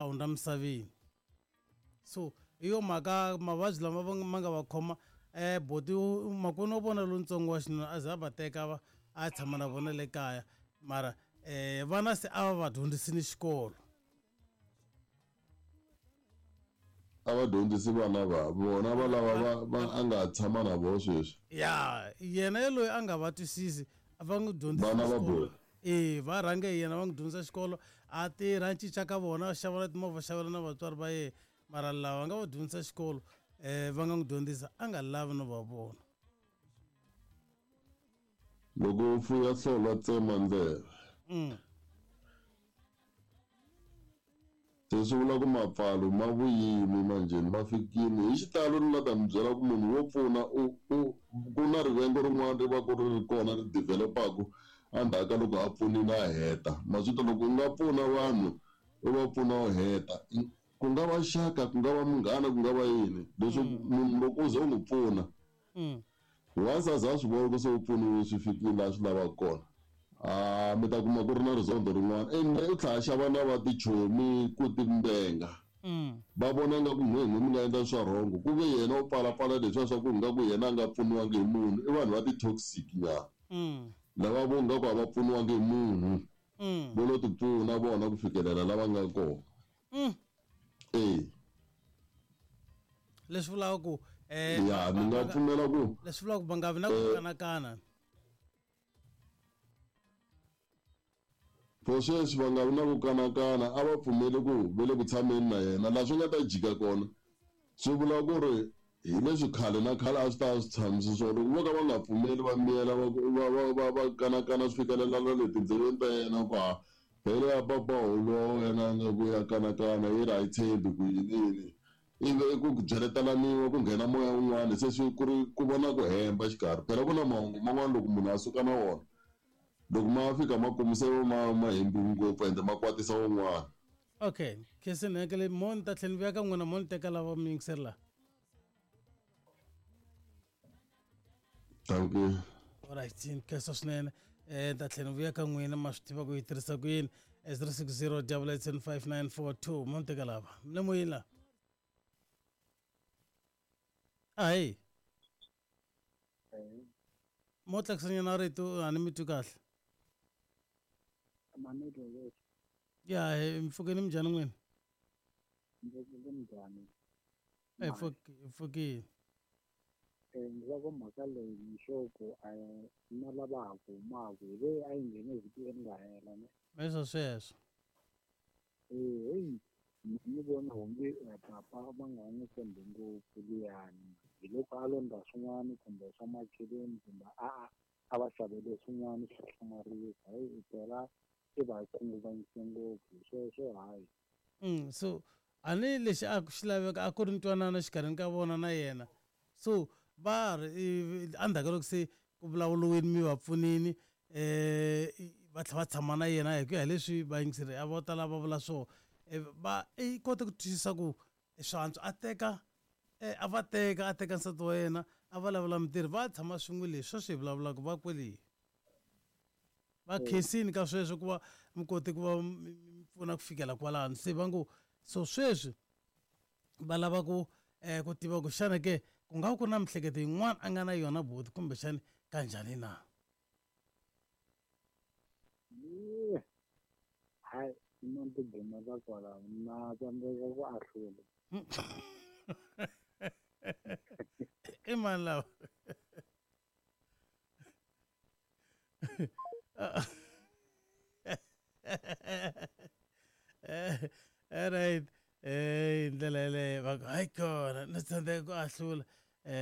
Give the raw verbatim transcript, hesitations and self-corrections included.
Hundza misaveni. So hi yo mhaka mavabyi lama va ma nga va khoma um boti makwenu wa vona lontsongo wa xinuna a ze a va teka va a tshama na vona le kaya, mara um vana se a va va dyondzisini xikolo. A va dyondzisi vana va vona va lava va va a nga tshama na vona sweswi. Ya yena yaloyi a nga va twisisi, a va n'wi dyondzisi vana va xikolo. Boti. E va rhange hi yena, va n'wi dyondzisa xikolo, a tirha, a cinca ka vona, a xavela timovha, xavela na vatswari va yena, mara lava nga va dyondzisa xikolo um va nga n'wi dyondzisa a nga lavi no va vona. Loko u fuya hlolwa, tsema ndleve. Mm. Se swi vula ku mapfalo ma vuyimi manjheni ma fikini hi xitalo. Ni la ta mi byela ku munhu wo pfuna u u ku na rivengo rin'wana ri va ku ri ri kona ri develop-aku endzhaku ka loko a pfunile a heta. Ma swi twa, loko u nga pfuna vanhu, u va pfuna u heta, ku nga va xaka, ku nga va munghana, ku nga va yini leswi, munhu loko u ze u n'wi pfuna, Mm. once a za a swi vona ku se u pfuniwe, swi fikile laha swi lavaka kona, a mi ta kuma ku ri na rizondho rin'wana, ende u tlhela a xava na va tichomi ku timbenga. Mm. Va vona nga ku n'we n'we mi nga endla swa wrong, ku ve yena u pfalapfala leswiya swa ku nga ku yena a nga pfuniwangi hi munhu. I vanhu va ti-toxic nyana Mm. lava vo nga ku a va pfuniwangi hi munhu, Mm. vo lo ti pfuna vona ku fikelela lava nga kona. Mm. E. Leswi vulaka ku um Ya, ni nga pfumela ku leswi vulaka ku va nga vi na ku kanakana. For sweswi va nga vi na ku kanakana, a va pfumeli ku ve le ku tshameni na yena. Laha swi nga ta jika kona, swi vula ku ri hi leswi khale na khale a swi ta swi tshamisi swona. Loko vo ka va nga pfumeli, va miyela, va va va va va kanakana, swi fikelela na le tindleveni ta yena ku ha phele ya papa holo wa wena nga ku ya kanakana, yi ri a yi tshembi ku yini yini, ivi ku byeletelaniwa, ku nghena moya wun'wana, se swi ku ri ku vona ku hemba xikarhi. Phela ku na mahungu man'wana loko munhu a suka na wona, loko ma fika makumu se ma ma hembiwi ngopfu, ende ma kwatisa wun'wana. Okay, khensini hekele mo ni ta tlhela ni vuya ka n'wina, mo ni teka lava mi yingiseri laha. Thank you. Alright, ni khensa swinene. um ni ta tlhela ni vuya ka n'wina, ma swi tiva ku yi tirhisa ku yini. Zero six zero double eight seven five nine four two, mo ni teka lava mi le moyeni laha. Ahi, mo tlakusanyana rito, a ni mi twi kahle. Ya, hi mpfukeni, minjhani n'wina? Hi pfukile. Ndzi va ku mhaka leyi ni sure ku a na lava ha ku humaka hi leyi a yi nghene vhiki leri nga hela ne. Leswo sweswo. Ee, heyi, mina ni vona onge papa va nga n'wi tshembi ngopfu luyani, hi loko a londza swin'wana kumbe swa macheleni, kumbe a a a va xavele swin'wana swo hlamarisa. Heyi, phela i va khunguvanyise ngopfu sweswo, hayi. Mm, so a ni lexi a xi laveka a ku ri ntwanano xikarhini ka vona na yena. So va ri endzhaku ka loko se ku vulavuriwile, mi va pfunini, um va tlhela va tshama na yena, hi ku ya hi leswi vayingiseri a vo tala va vula swona, va i kote ku twisisa ku swantswa a teka a va teka, a teka nsati wa yena, a va lavela mintirho, va tshama swin'we. Leswi sweswi hi vulavulaka va kwele va khensini ka sweswo ku va mi kote ku va mi pfuna ku fikela kwalano. Se va ngo so sweswi va lava ku um ku tiva ku xana ke ku nga ku ri na mihleketo yin'wana a nga na yona buti, kumbexani kanjhani na? Hayi, mina ni tigumela kwalano, na tsandzeka ku ahlula. I mani lava? Alright, eh hi ndlela yeleyo va ku hayi kona ni tsandzeka ku ahlula. um